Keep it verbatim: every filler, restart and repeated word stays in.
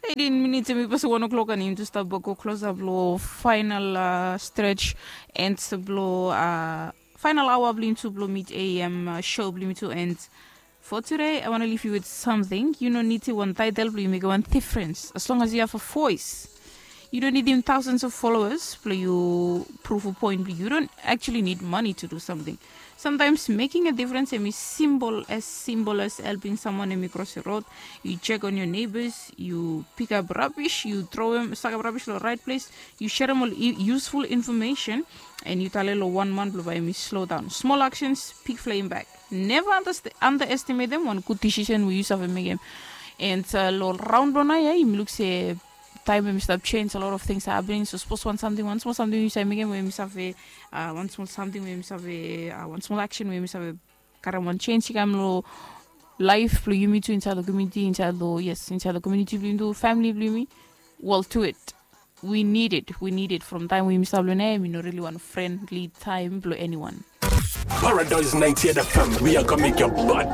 Eighteen minutes em i pasim one o'clock and yumi tu stap go klosap long final stretch and blong final aoa blong yumi tu blong mid am show blong yumi tu and for today I want to leave you with something. You no need to one title blong you make one difference as long as you have a voice. You don't need even thousands of followers blong you prove a point blong you don't actually need money to do something. Sometimes making a difference em i simple as simple as helping someone em i cross a road. You check on your neighbors, you pick up rubbish, you throw them, suck up rubbish to the right place, you share them all useful information and you tell lo one man blong by me slow down. Small actions, big flame back. Never underst- underestimate them one good decision we use of a make them. And uh, lo round blong ai, you look say time we stop change a lot of things happening. So suppose one something, one small something you say make them we stop uh, one small something we stop uh, one small action we stop uh, karam one change kam lo life blong yumi tu inside the community, inside the yes, inside the community blong yumi, family blong yumi. Well, to it. We need it. We need it from time we stop lo name, you know, really one friendly time blong anyone. Paradise ninety-eight F M, we are gonna make your butt